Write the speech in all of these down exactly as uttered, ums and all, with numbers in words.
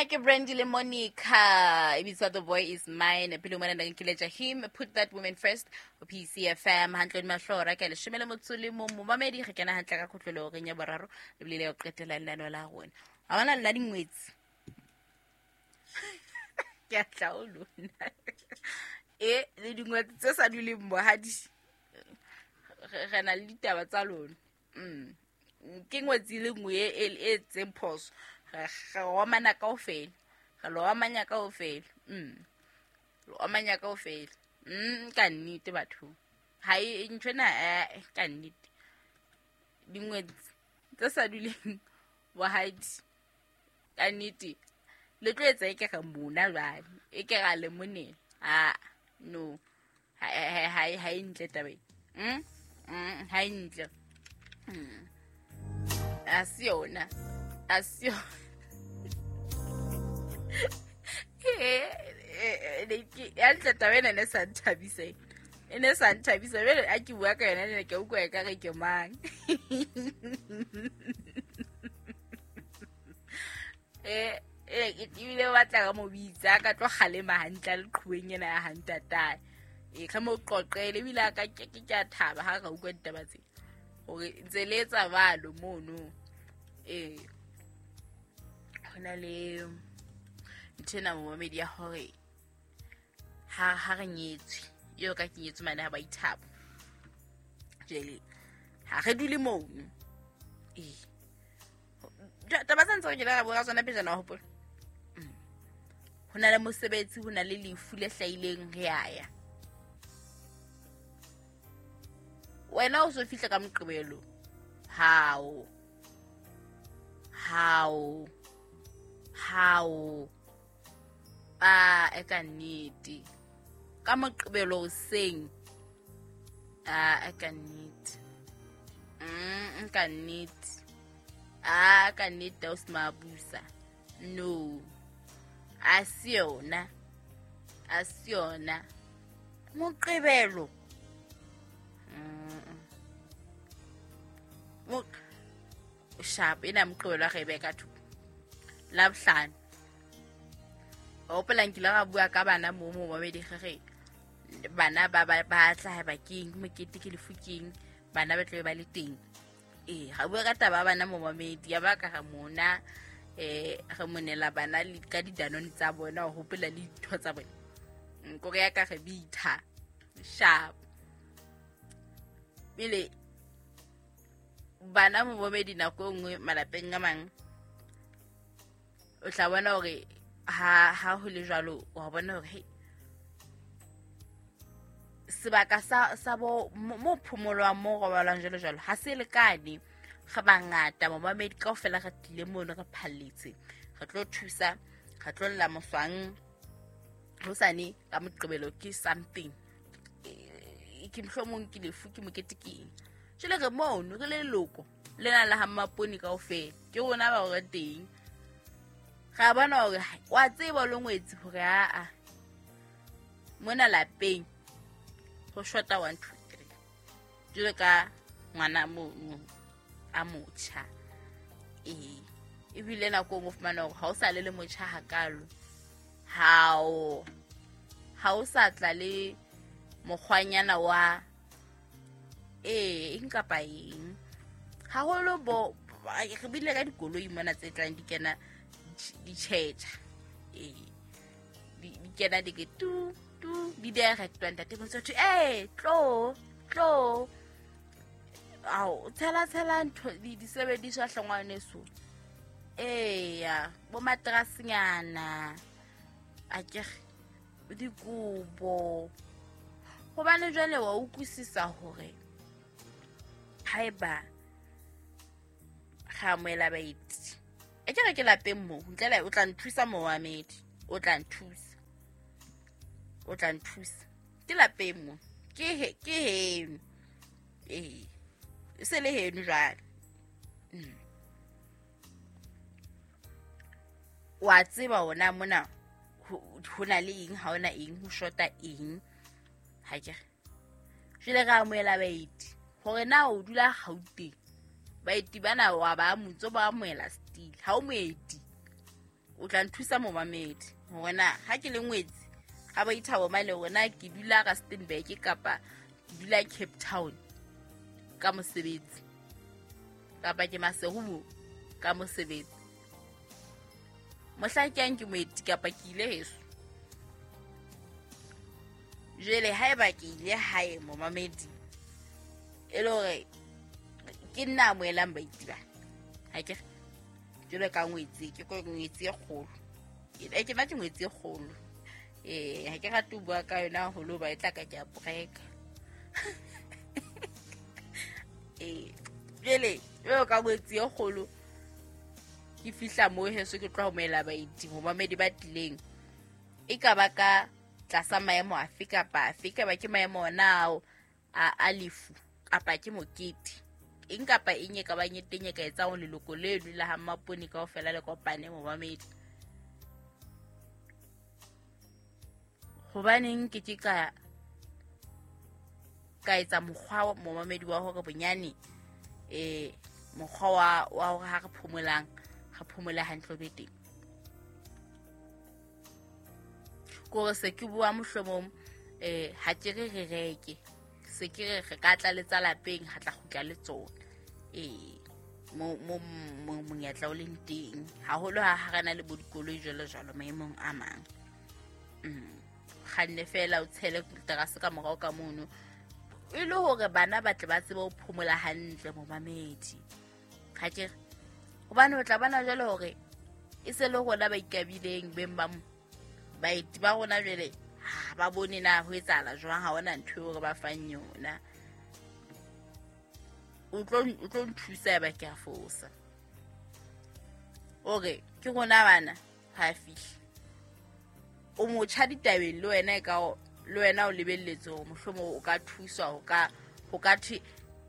Ena ke Brandy le Monica e bitswa The Boy Is Mine. Pele mona nna ke letja him put that woman first ho P C F M hantle le mahlora ka leshome le motso le mong momamedi re kena hantle ka kgotlelo reng ya boraro le bile le qetela lenano la rona. Ha bona la dingwetsi. Ke a tla o lona. E le dingwetsi tse sa duleng bohadi. Re na le ditaba tsa lona. Mm. Ke ngwetsi le nngwe e e tseng phoso. Re romana kaofela. Re lo amanya kaofela. Mm. Lo amanya kaofela. Mm, ka nnete batho. Ha e nthwena eh ka nnete. Dingwetsi tse sa duleng bohadi. Ka nnete. Le tlo etsa e ke re mona jwale. E ke ra le monela. Ah, no. Ha ha ha e ntle taba e. Mm? Mm, ha e ntle. Mm. A se yona. A se yona. Eh, eh, ke ya ntle taba ena ne sa nthabise. E ne sa nthabise bele a ke bua ka yona ne ke utlwa e ka re ke mang. Eh, eh ebile ba batla ka mo bitsa ka tlo kgalema hantle le qhuweng ena ya hantatae. E ka mo qoqele ebile a ka ke ke a thaba ha ka utlwa ditaba tse. Hore ntse le etsa balo mono. Eh hona le nthena momamedi ya hore ha ha re nyetswe eo ka ke nyetswe mane ha ba ithabo. Jele ha re dule mono. Eh taba tsa ntse re kile ra bua ka tsona pejana wa hopola. Hona le mosebetsi, hona le lefu le hlahileng re a ya. Wena o so fihla ka Moqebelo. Hao. Hao. Hao. Ah, e ka nnete. Ka Moqebelo hoseng. Ah, e ka nnete. Mm, ka nnete. Ah, ka nnete o se mabusa. No. A se yona. A se yona. Moqebelo. Mm. Sharp ena Moqebelo re be ka thoko. La bohlano. O hopola nkile ra bua ka bana mo mo babedi re bana ba ba ba tla ha ba keng mokete ke lefu keng bana ba tla ba le teng. Eh ga bua ka taba bana mo mamedi ya ba ka ga mona eh re monela bana le ka didanone tsa bona ho hopola le ditho tsa bona. Nko re ya ka re bitha. Sharp. Pele bana mo bomedi nako nngwe malapeng a mang o tla bona hore ha ha ho le jwalo wa bona hore hey sebaka sa sa bo mo phomolwang mo robalwang jwalo jwalo ha se lekane. Re bangata momamedi kaofela re tlile mono re phalletse re tlo thusa re tlo lla moswang hosane ka Moqebelo ke something ke mohlomong ke lefu ke mokete ke eng. Jwale re mono re le leloko lena la ha Mmapone kaofela ke rona ba hore teng ra bona hore wa tseba lo ngwetsi hore a a mona lapeng ho shota one two three jwale ka ngwana mono a motjha. Eh ebile nako o fumana hore ha o sa le le motjha hakalo hao ha o sa tla le mokgwanyana wa eh eng kapa eng haholo bo re bile ka dikoloi mona tse tlang di kena di tjhetjha eh di kena di ke tu tu di direct ntate motho eh tlo tlo ao tshela tshela ntho di disebediswa hlongwaneso eh ya bo matrasinyana a ke dikobo hobane jwale wa utlwisisa hore haeba ga amohela baeti e ke re ke lapeng mo ntle le o tla nthusa momamedi o tla nthusa o tla nthusa ke lapeng mo ke he ke heno eh se le heno jwale. Mm. Wa tseba ona mona ho na le eng ha ona eng ho shota eng ha ke jwale re amohela baeti hore na o dula Gauteng baeti bana wa ba motso ba amohela still ha o moeti O tla nthusa momamedi hore na ha ke le ngwetsi ha ba ithabo mane hore na ke dula Rustenburg kapa ke dula Cape Town ka mosebetsi kapa ke Maseru ka mosebetsi. Mohla ke yang ke moeti kapa ke ile heso. Jwale haeba ke ile hae momamedi e le hore ke nna amohelang baeti ba ha ke jwale ka ngwetsi ke ko ngwetsi e kgolo e ke batla ngwetsi e kgolo eh ha ke rate ho bua ka yona haholo ba e tla ka ke a breka eh jwale jwale ka ngwetsi e kgolo ke fihla mo heso ke tlo amohela baeti momamedi ba tlileng e ka ba ka tlasa maemo afe kapa afe ka ba ke maemo ona ao a a lefu kapa ke mokete eng kapa eng e ka bang e teng e ka etsang leloko leno la ha Mmapone kaofela le kopane momamedi. Hobaneng ke ke ka ka etsa mokgwa momamedi wa hore bonyane eh mokgwa wa wa hore ha re phomolang re phomola hantle be teng. Kore se ke bua mohlomong eh ha ke re re reke se ke re re ka tla letsa lapeng ha tla kgutla le tsona eh mo mo monyetla o leng teng haholo ha ha rena le bo dikoloi jwalo jwalo maemong a mang. Mm kganne fela o tshele terase ka morao ka mono e le hore bana ba tle ba tsebe ho phomola hantle momamedi. Ha ke hobane o tla bona jwale hore e se le rona ba ikabileng beng ba mo baeti ba rona jwale ha ba bone na ho etsahala jwang ha hona ntho eo re ba fang yona. O tlo o tlo nthusa ba ke a fosa ore ke rona bana ha fihle o motjha ditabeng le wena e ka le wena o lebelletse hore mohlomong o ka thuswa ho ka ho ka thwe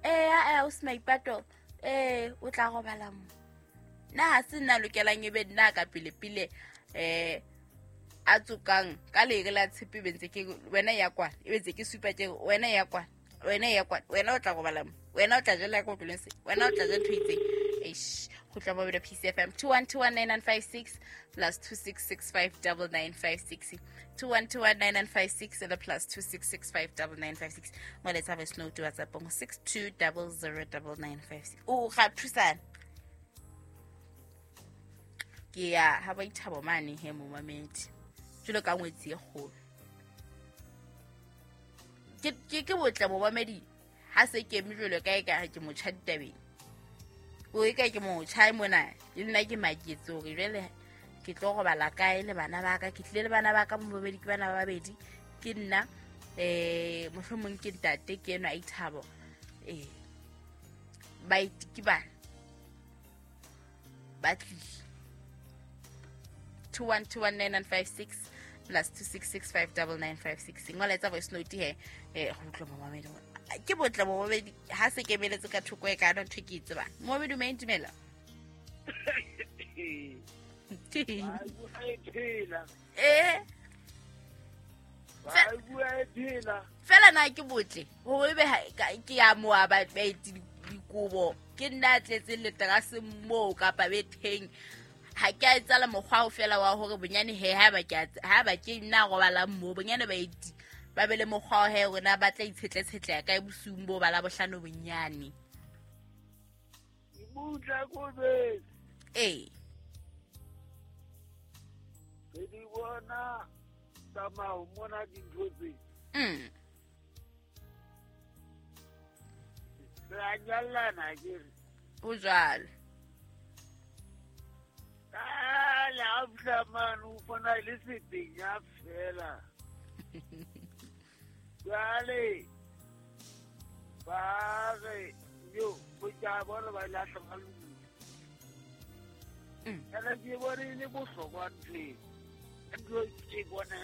eh eh o se maipato eh o tla robala mo nna ha se nna lokelang e be nna ka pele pele eh a tsokang ka lere la tshepe bentse ke wena ya kwana e bentse ke supa ke wena ya kwana wena ya kwana wena o tla robala mo wena o tla jela ka tloleng se wena o tla ja ntho itseng eish go tla ba P C F M two one two one nine nine five six plus two six six five nine nine five six two one two one nine nine five six and the plus two six six five nine nine five six mo letsa voice note WhatsApp go six two zero zero nine nine five six o ga thusana ke ya ha ba ithabo mane he momamedi jwalo ka ngwetsi e kgolo ke ke ke botle momamedi ha se ke eme jwalo ka e ka ke motjha ditabeng o e ka ke motjha mona le nna ke maketse hore jwale ke tlo robala kae le bana ba ka ke tlile le bana ba ka momamedi ke bana ba babedi ke nna eh mohlomong ke ntate ke enwa ithabo eh baeti ke bana ba tlile two one two one nine nine five six plus two six six five nine nine five six ngola etsa voice note he eh go utlwa momamedi ke botle momamedi ha se kemeletse ka thoko e ka ntho ke tseba momamedi o maintumela eh fela na ke botle hore ebe ke ya moa ba baeti dikobo ke nna tletse le terase moo kapa betheng ha ke a etsa le mokgwa o fela wa hore bonyane he ha ba ke ha ba ke nna robala mo bonyane baeti ba be le mokgwa he rona ba tla itshetletsetla ka bosiung bo ba la bohlano bonyane butla ko be eh ke di bona tsamao mona dintho tse mm re a nyallana ke ho jwalo la fihla mane o bona le sepenya fela jwale ba re yo botja bona ba lahla ka lodi ene ke bone e le bohlokwa ntho e ntho ke bona